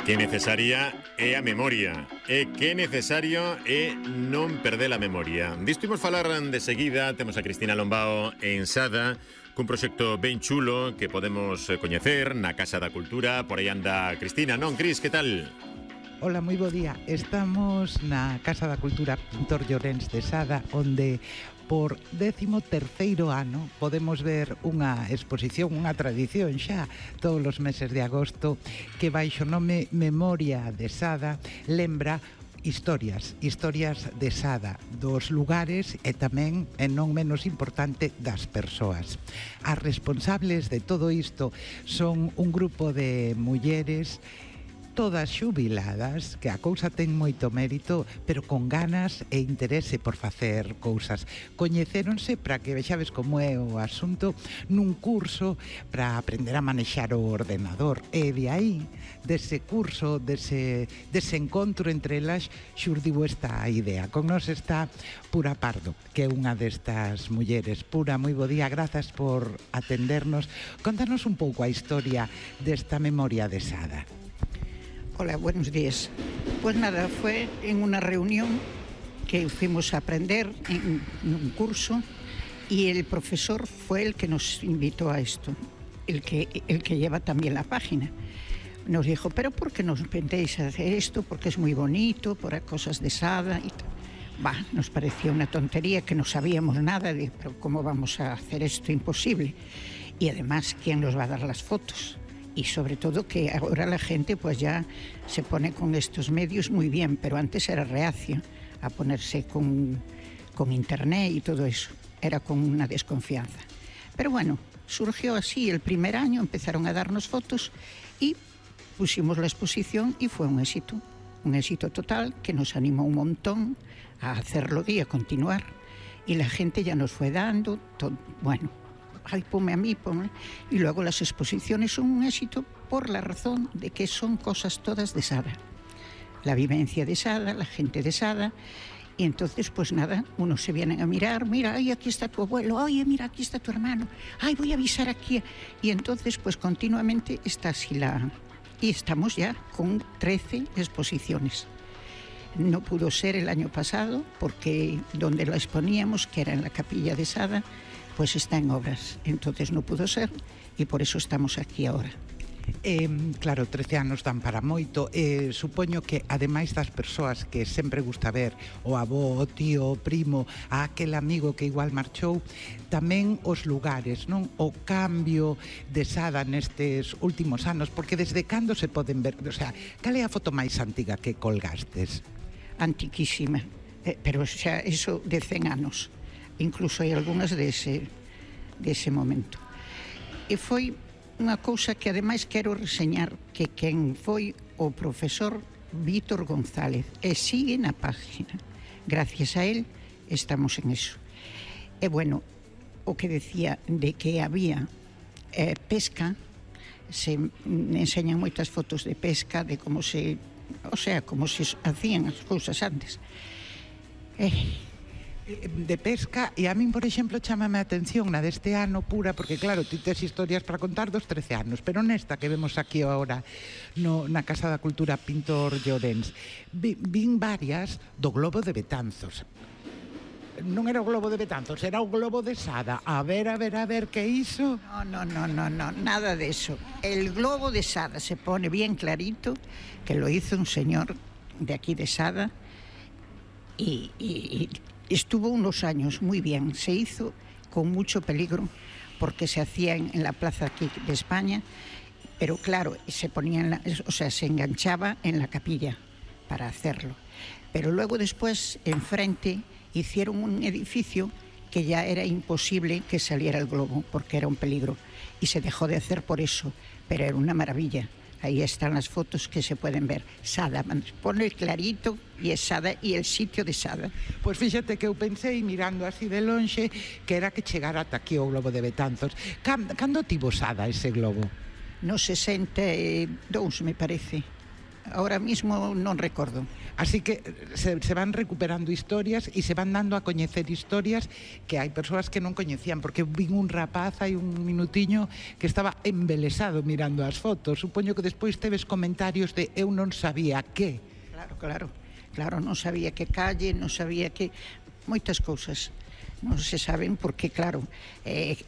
Que necesaria é a memoria. E que necesario é non perder a memoria. Disto imos falar de seguida. Temos a Cristina Lombao en Sada, cun proxecto ben chulo que podemos coñecer na Casa da Cultura. Por aí anda Cristina, non, Cris, que tal? Hola, moi bo día. Estamos na Casa da Cultura Pintor Llorens de Sada, onde por 13º ano podemos ver unha exposición, unha tradición xa todos os meses de agosto, que baixo o nome Memoria de Sada lembra historias de Sada, dos lugares e tamén, e non menos importante, das persoas. As responsables de todo isto son un grupo de mulleres todas xubiladas, que a cousa ten moito mérito, pero con ganas e interese por facer cousas. Coñecéronse, para que vexades como é o asunto, nun curso para aprender a manexar o ordenador. E de aí, dese curso, dese encontro entre elas, xurdiu esta idea. Con nós está Pura Pardo, que é unha destas mulleres. Pura, moi bo día, grazas por atendernos. Contanos un pouco a historia desta Memoria de Sada. Hola, buenos días. Pues nada, fue en una reunión que fuimos a aprender en un curso y el profesor fue el que nos invitó a esto, el que lleva también la página. Nos dijo, pero ¿por qué nos pentéis hacer esto? Porque es muy bonito, por cosas de Sada y tal. Nos parecía una tontería, que no sabíamos nada de, pero ¿cómo vamos a hacer esto? Imposible. Y además, ¿quién nos va a dar las fotos? Y sobre todo que ahora la gente pues ya se pone con estos medios muy bien, pero antes era reacio a ponerse con internet y todo eso, era con una desconfianza. Pero bueno, surgió así, el primer año empezaron a darnos fotos y pusimos la exposición y fue un éxito total que nos animó un montón a hacerlo y a continuar. Y la gente ya nos fue dando, todo, bueno, ay, ponme a mí, ponme. Y luego las exposiciones son un éxito por la razón de que son cosas todas de Sada. La vivencia de Sada, la gente de Sada. Y entonces, pues nada, unos se vienen a mirar, mira, ay, aquí está tu abuelo, oye, mira, aquí está tu hermano, ay, voy a avisar aquí. Y entonces, pues continuamente está así Y estamos ya con 13 exposiciones. No pudo ser el año pasado porque donde la exponíamos, que era en la capilla de Sada, pues está en obras, entonces no pudo ser e por eso estamos aquí ahora. Claro, 13 anos dan para moito. Supoño que, ademais das persoas que sempre gusta ver, o avó, o tío, o primo, a aquel amigo que igual marchou, tamén os lugares, non? O cambio de Sada nestes últimos anos, porque desde cando se poden ver, o sea, cal é a foto máis antiga que colgastes? Antiquísima, pero xa eso de 100 anos. Incluso hai algunhas dese momento. E foi unha cousa que ademais quero reseñar, que quen foi o profesor Vítor González, e sigue na página. Gracias a él estamos en eso. E bueno, o que decía de que había pesca, se enseñan moitas fotos de pesca, de como se, o sea, como se hacían as cousas antes. De pesca, e a min, por exemplo, chámame a atención na deste ano, Pura, porque claro, ti tes historias para contar dos 13 anos, pero nesta que vemos aquí agora na Casa da Cultura Pintor Llorens, vin varias do Globo de Betanzos. Non era o Globo de Betanzos, era o Globo de Sada. A ver, que iso? No, nada de eso. El Globo de Sada se pone bien clarito, que lo hizo un señor de aquí de Sada, y estuvo unos años muy bien, se hizo con mucho peligro porque se hacía en la plaza aquí de España, pero claro, se ponía se enganchaba en la capilla para hacerlo. Pero luego después, enfrente, hicieron un edificio que ya era imposible que saliera el globo porque era un peligro y se dejó de hacer por eso, pero era una maravilla. Ahí están las fotos que se pueden ver. Sada, pone clarito e es Sada e el sitio de Sada. Pois fíxate que eu pensei, mirando así de lonxe, que era que chegara ata aquí o Globo de Betanzos. Cando tivo Sada ese globo? No 62, me parece. ahora mismo non recordo. Así que se van recuperando historias e se van dando a coñecer historias que hai persoas que non coñecían, porque vin un rapaz hai un minutiño que estaba embelesado mirando as fotos. Supoño que despois teves comentarios de eu non sabía que. Claro, non sabía que calle, non sabía que... Moitas cousas non se saben porque, claro,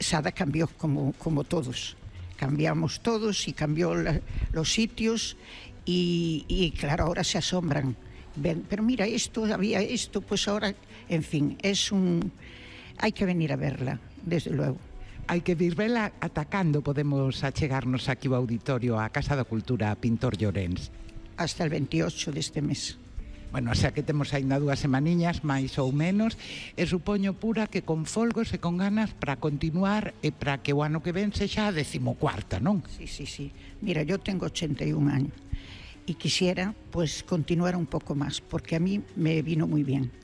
Sada cambió como todos. Cambiamos todos y cambió los sitios y claro, ahora se asombran. Ven, pero mira, había esto, pues ahora, en fin, hay que venir a verla, desde luego. Hai que vir vela atacando, podemos achegarnos aquí ao auditorio a Casa da Cultura Pintor Llorens. Hasta el 28 deste mes. Bueno, o sea que temos aínda 2 semaniñas, máis ou menos, e supoño, Pura, que con folgos e con ganas para continuar e para que o ano que ven sexa a 14ª, non? Sí. Mira, yo tengo 81 años y quisiera pues continuar un poco más, porque a mí me vino muy bien,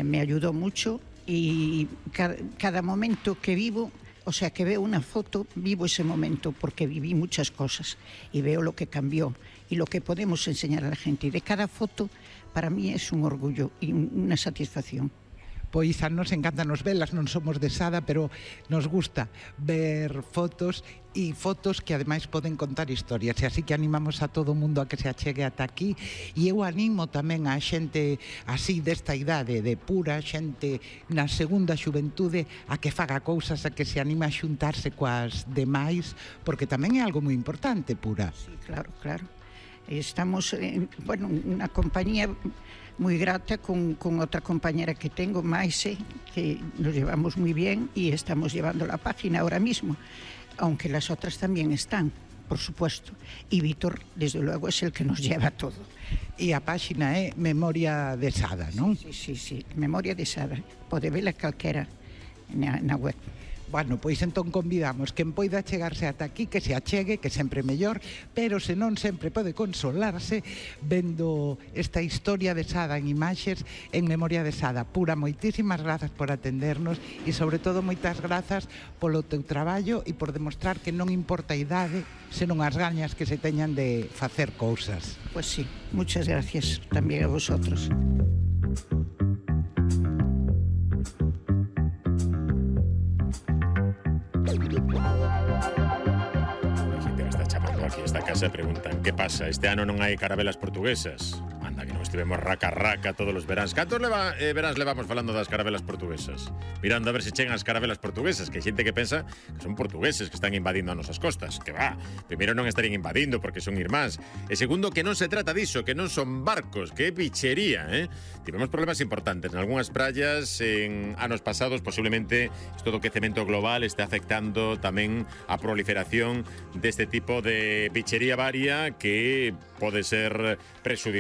me ayudó mucho y cada momento que vivo, o sea, que veo una foto, vivo ese momento porque viví muchas cosas y veo lo que cambió y lo que podemos enseñar a la gente. Y de cada foto, para mí es un orgullo y una satisfacción. Pois a nos encanta nos velas, non somos de Sada, pero nos gusta ver fotos e fotos que ademais poden contar historias, e así que animamos a todo o mundo a que se achegue ata aquí, e eu animo tamén a xente así desta idade, de Pura, xente na segunda xuventude, a que faga cousas, a que se anime a xuntarse coas demais, porque tamén é algo moi importante, Pura. Sí, claro. Estamos en una compañía muy grata con otra compañera que tengo, Maise, que nos llevamos muy bien y estamos llevando la página ahora mismo, aunque las otras también están, por supuesto. Y Víctor, desde luego, es el que nos lleva todo. E a página é Memoria de Sada, non? Sí, Memoria de Sada. Pode vela calquera na web. Bueno, pois entón convidamos quen poida chegarse ata aquí, que se achegue, que sempre mellor, pero se non sempre pode consolarse vendo esta historia de Sada en imaxes en Memoria de Sada. Pura, moitísimas grazas por atendernos e sobre todo moitas grazas polo teu traballo e por demostrar que non importa a idade, senón as gañas que se teñan de facer cousas. Pues sí, muchas gracias también a vosotros. Aquí esta casa preguntan, ¿qué pasa? Este ano non hai carabelas portuguesas? Anda, que non estivemos raca todos os veráns. Cantos veráns levamos falando das carabelas portuguesas? Mirando a ver se chegan as carabelas portuguesas, que hai xente que pensa que son portugueses que están invadindo as nosas costas. Que va, primeiro non estarían invadindo porque son irmáns. E segundo, que non se trata diso, que non son barcos, que é bichería, Tivemos problemas importantes en algunhas praias en anos pasados, posiblemente isto do quecemento global este afectando tamén a proliferación deste tipo de bichería varia que pode ser prexudicial